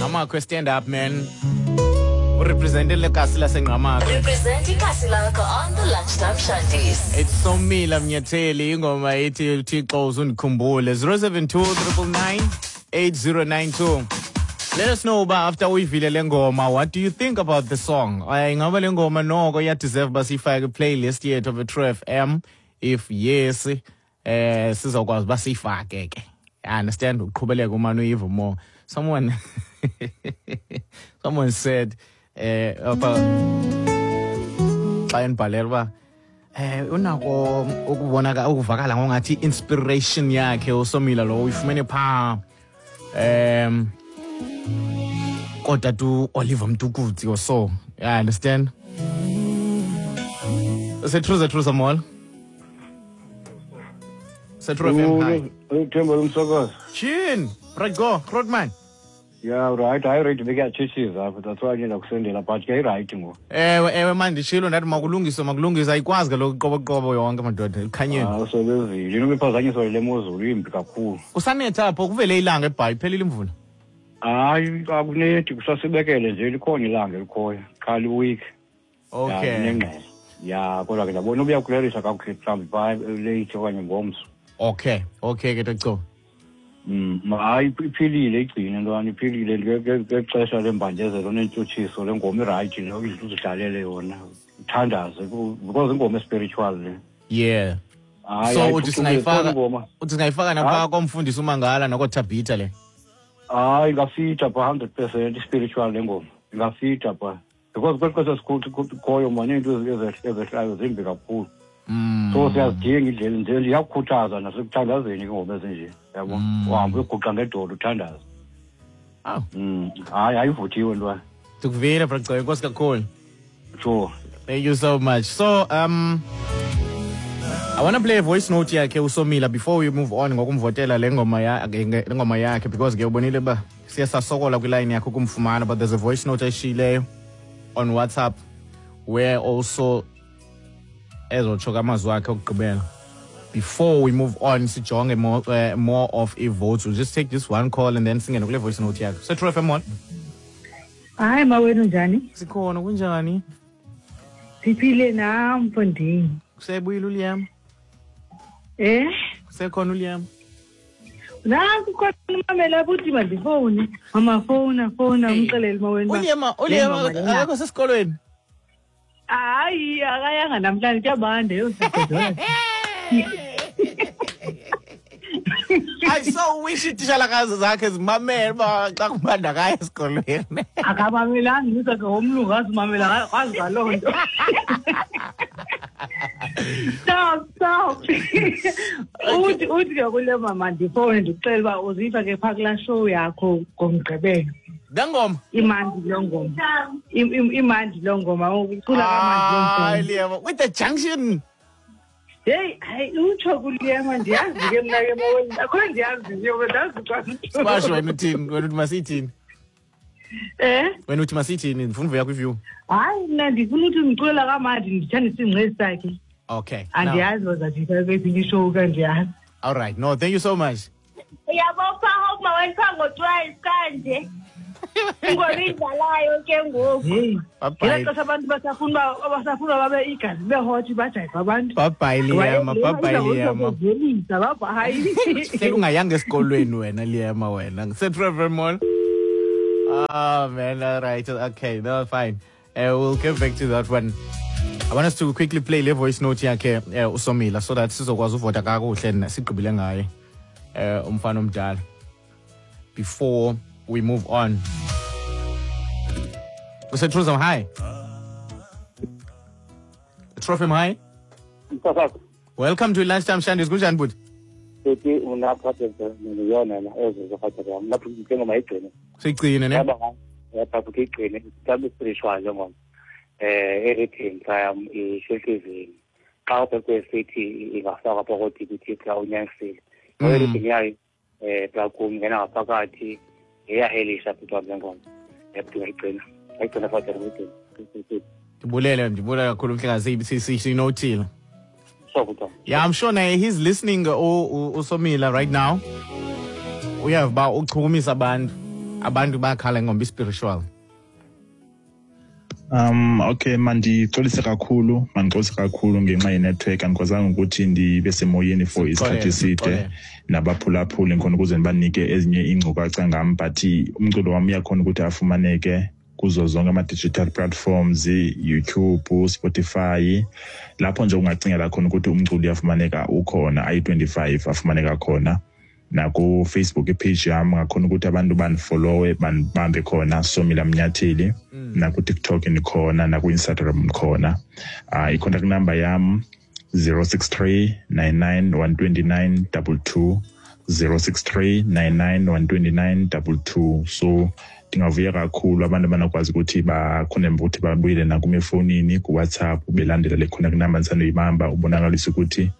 Ngqamakhwe, stand up, man. Urepresentele kasi laseNgqamakhwe. Represent ikasi lakho on the Lunchtime Shandies. It's Somila Mnyatheli, ingoma ethi "Thixo Uzundikhumbule". 072 999 8092. Let us know uba after uyivile le ngoma, what do you think about the song? Ingaba le ngoma noko iyadeserve uba siyifake kwi-playlist yethu of True FM? If yes, sizokwazi uba siyifake ke. I understand, uqhubeleka umane uyiva more. Someone said apha xa endibhalela uba unako ukubonaka ukuvakala ngongathi inspiration yakhe uSomila lo uyifumene phaa kodwa tu Oliver Mtukudzi or so. I understand. Setruza truza mall. Setru FM, hi. Uthemba lomsakazi. Chin, right go, Grootman. Ya, right, hayi, right, bekuyatshitshiza apha, that's why ke ndakusendela, but ke irayithi ngoku. Ewe, man, nditshilo ndathi makulungiswe, makulungiswe. Ayikwazi kaloku iqoboqobo yonke, madoda, ekhanyeni. Ah, usebenzile. Inoba iphazanyiswa yile mozulu imbi kakhulu. Kusanetha apho? Kuvele ilanga eBhayi, iphelile imvula? Hayi, akunethi, kusasibekele nje, likhona ilanga elikhoyo qha liweek. Nengqele ya, kodwa ke ndabona ubuyakulelisha kakuhle mhlawumbi phaa late okanye ngomso. Okay ke, Toco. Hayi, iphilile, igcine ntwana, iphilile ngexesha lembandezelo nentshutshiso. Le ngoma irayithi lo, uzidlalele yona, uthandaze, because ingoma espiritual le. Hayi, So hayi, uthi phucukile, singayifaka khona ingoma. Uthi singayifaka napha komfundisi uMangala nakoThabitha le? Hayi, ingafita pha 100%, i-spiritual le ngoma, ingafita pha because kweli xesha sikhoyo mani, iinto ezehlayo zimbi kakhulu. So siyazidinga indlela nje, iyakukhuthaza nasekuthandazeni ingoma ezinje, yabo, uhambe uyoguqa ngedolo uthandaze. Aw. Hayi, ayivuthiwe ntwana. Ndikuvile, Braco, enkosi kakhulu. Sure. Thank you so much. So, I want to play a voice note yakhe uSomila before we move on ngokumvotela le ngoma yakhe, because ke ubonile ba siye sasokola kwiline yakhe ukumfumana, but there's a voice note ayishiyileyo on WhatsApp where also ezotsho amazwi akhe okugqibela. Before we move on sijonge more of i-votes, we'll just take this one call and then singene kule voice note yakhe. So True FM, one. Hayi mawenu, njani? Sikhona, kunjani? Siphile nam, mfondini. Kusebuyile uLiam? Eh? Kusekhona uLiam? Nanku khona umamela buthi mandifowune. Mama, fowuna, fowuna, umxelele mawenu uba uLiam, le uLiam ngoma lena. Akekho sesikolweni? Hayi, akayanga namhlanje, kuyabanda yho, siyagodola. I so wish itishalakazi zakhe zimamele uba xa kubanda kaya esikolweni. Akamamelanga usakhe womlungu, azimamela kwazi ngaloo nto. Stop, stop. Uthi ke kule mama ndifowune ndikuxele uba uziva ke phaa kulaa show yakho ngoMgqibelo. Le ngoma? Imandi loo ngoma. Imandi loo ngoma, ucula kamandi loo Hayi, ngoma. Liam, with the junction. Heyi, hayi, utsho kuLiyama, ndiyazi ke mna ke maweni, akho ndiyazi nje, ndazi xa Squash, wena uthini? Wena uthi masithini? Eh? Wena uthi masithini? Ndifuna uvuya kwiview. Hayi, mna ndifuna uthi ndiculela kamandi, ndithanda isingqesi sakhe. Okay. Andiyazi bazajika kweyiphi ishow, kandiyazi. All right. No, thank you so much. Uyabopha hope maweni phaa ngo-12 kanje. Ingoma idlalayo ke ngoku. Heyi. Bye-bye. Ngela xesha abantu basafuna uba babe igazi libe hot, bajayive abantu. Bye bye, Liam. Bye bye, Liam. Liam. Bye. Hleli ungayanga esikolweni wena, Liam, wena. Trevor Mall. Oh man, all right. Okay, no, fine. We'll get back to that one. I want us to quickly play le voice note yakhe uSomila so that sizokwazi uvota kakuhle sigqibile ngaye umfana omdala before we move on. Usetruza, hi. Trophy, hi. Msakazi. Welcome to Lunchtime Shandies. Kunjani, bhuti? Sethi unaphathe yona na ezo zokhatha yam lapho ngoma igcine. Siyigcine ne? Yaba yapha igcine mhlawumbe spiritual le ngoma. Everything xa ishelkezini. Xa ubhekwe sithi ingafakwa phakathi ko-DBT xa unyanisile. Everything yayo xa kungena ngaphakathi iyahelisha futhi le ngoma. Yabudinga igcina. Ayigcina futhi igcina. Ndibulele, ndibulele kakhulu mhlekazi, sinothile. Sure, bhuti. Yeah, I'm sure naye he's listening, uSomila right now. Uyava uba uchukumisa abantu. Abantu bayakhala ngomba spiritual. Okay, mandixolise kakhulu, mandixolise kakhulu ngenxa ye-network. Andikwazanga ukuthi ndibe semoyeni for isikhathi eside nabaphulaphuli khona ukuze ndibanike ezinye iinkcukacha ngam, but umculo wam uyakhona ukuthi afumaneke kuzo zonke ama-digital platforms, YouTube, Spotify, lapho nje ungacingela khona ukuthi umculo uyafumaneka ukhona, ayi-25 afumaneka khona. Naku-Facebook ipage yam ngakhona ukuthi abantu bandifollowe, bandibambe khona, Somila Mnyatheli. Naku-TikTok ndikhona, naku-Instagram ndikhona. I-contact number yam 063 99 129 22, 063 99 129 22. So ndingavuya kakhulu abantu abanokwazi ukuthi bakhone ukuthi babuyele nakum efowunini kuWhatsApp, belandela le contact number ndisandoyibamba, ubonakalisa ukuthi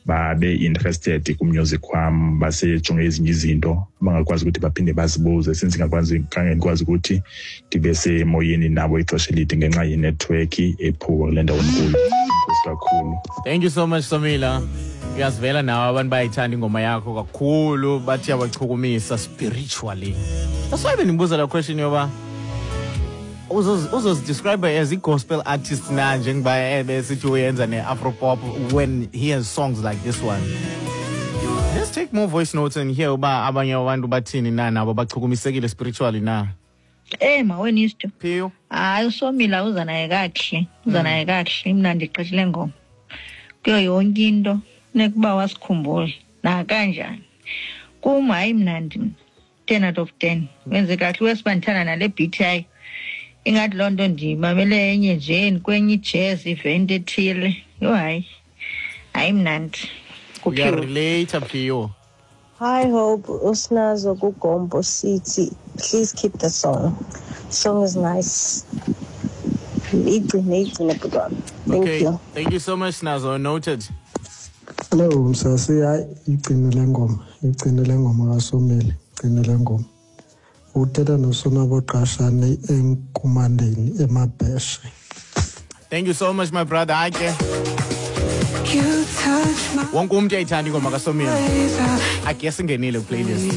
babe interested ku-music wam, basejonge ezinye izinto bangakwazi ukuthi baphinde bazibuze, since ngakwazi khange ndikwazi ukuthi ndibe semoyeni nabo ixesha elide ngenxa yenetwork ephuwa kule ndawo ndikuyo. Enkosi kakhulu. Thank you so much, Somila. Uyasivela nawe, abantu bayayithanda ingoma yakho kakhulu, bathi yabachukumisa spiritually. That's why bendibuza la question yoba uzozidescribe as i-gospel artist na, njengoba ebesithi uyenza ne-afro pop when he has songs like this one. Let's take more voice notes and hear uba abanye abantu bathini na, nabo bachukumisekile spiritually na. Mawenisto. Phiyo. Hayi, uSomila uza naye kakuhle, uza naye kakuhle, imnandi gqithi le ngoma. Kuyo yonke into funeka uba wasikhumbule nakanjani. Kum hayi mnandi mna. 10 out of 10. Wenze kahle wesiba ndithanda nale beat yayo. Ingathi loo nto ndimamele enye nje kwenye i-jazz event ethile. Yho hayi. Hayi mnandi. Kuphiwe. Uyarelate, Phiyo. Hi Hope, Usnazo Kugombo City. Please keep the song. Song is nice. Igcine, igcine bhuti wami. Thank Okay. you. Thank you so much, Nazo. Noted. Hello Msasi, hayi igcine le ngoma, igcine le ngoma kaSomile, igcine le ngoma. Uthetha noSonwabo Qashane enkumandeni eMabheshe. Thank you so much, my brother. Hayi ke, wonke umuntu uyayithanda ingoma kaSomila. I guess ingenile playlist.